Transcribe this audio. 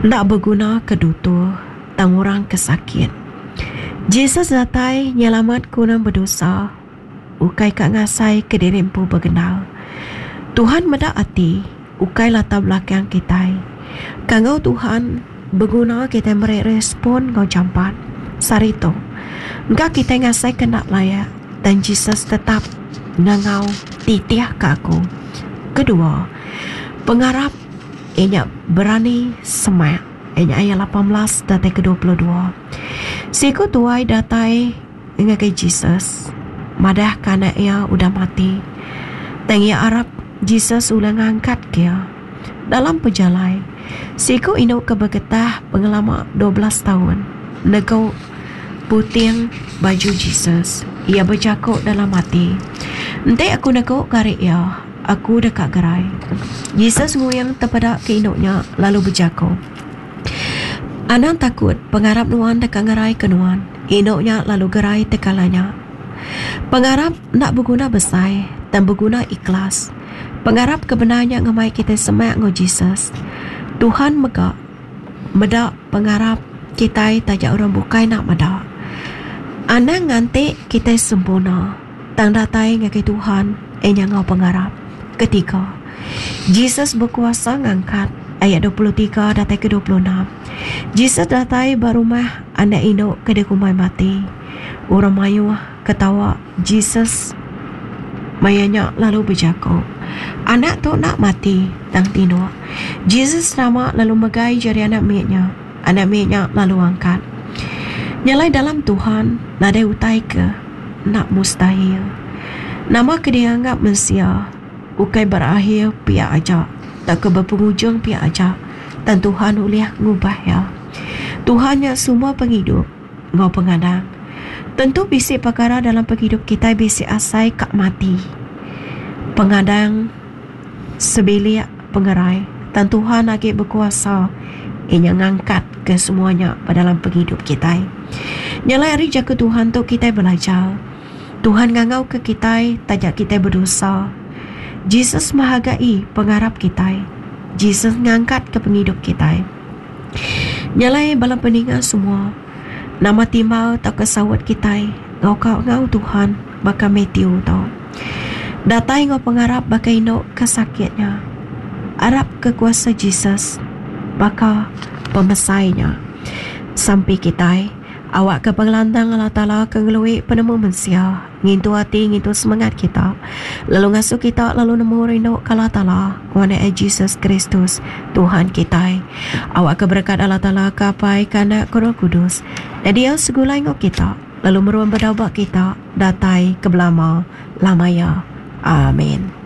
Enda beguna ke dutur tang orang ke sakit. Jesus datai nyelamatka orang bedosa ukai ka ngasai ke diri empu begendar. Tuhan meda ati ukai latar belakang kitai. Kangau Tuhan beguna kitai meri respon enggau jampat. Sehari tu, engka kitai ngasaika enda layak tang Jesus tetap ngangau titihka aku. Kedua, pengarap iya nya berani semak iya nya ayat 18 datai ke 22. Siku tuai datai ngagai Jesus madahka anak iya udah mati. Tang iya arap Jesus ulih ngangkatka iya. Dalam pejalai, siku indu ke begetah pengelama 12 taun negu puting baju Jesus. Iya bejaku dalam ati, Enti aku negu gari iya, aku deka gerai. Jesus nguing tepeda ke indu nya lalu bejaku, Anang takut, pengarap nuan deka ngeraika nuan. Indu nya lalu gerai tekala nya. Pengarap enda beguna besai, tang beguna ikhlas. Pengarap ke bendar nya ngemai kitai semak enggau Jesus. Tuhan mega meda pengarap kitai taja orang bukai enda meda. Anang nganti kitai sempurna, tang datai ngagai Tuhan iya nya enggau pengarap. Ketiga, Jesus bekuasa ngangkat, ayat 23 datai ke 26. Jesus datai ba rumah anak indu ke dikumbai mati. Orang mayuh ketawa Jesus maya nya lalu bejaku, Anak tu enda mati, tang tinduk. Jesus tama lalu megai jari anak mit nya. Anak mit nya lalu angkat. Nyelai dalam Tuhan nadai utai ke enda mustahil. Nama ke dianggap mensia ukai berakhir pia aja tauka bepengujung pia aja tang Tuhan ulih ngubah iya. Tuhan nya sumber pengidup enggau pengadang. Tentu bisi pekara dalam pengidup kitai bisi asai ka mati. Pengadang sebilik pengerai tang Tuhan agi bekuasa inya ngangkatka semua nya ba dalam pengidup kitai. Nya alai ari jaku Tuhan tu kitai belajar Tuhan ngangauka kitai taja kitai bedosa. Jesus menghargai pengarap kitai. Jesus ngangkatka pengidup kitai. Nya alai bala peninga semua nama timbal tauka saut kitai enggau ka enggau Tuhan baka Matthew tu. Datai enggau pengarap baka indu ke sakit nya. Arap ke kuasa Jesus baka pemesai nya. Sampi kitai, awakka pengelantang Allah Taala ke ngelui penemu mensia, ngintu ati ngintu semengat kita, lalu ngasuh kita lalu nemu rindu ke Allah Taala enggau Anak Jesus Kristus, Tuhan kitai. Awakka berekat Allah Taala ke Apai, ke Anak, ke Roh Kudus, nyadi segulai enggau kita. Lalu meruan bedau ba kita datai ke belama lama iya. Amin.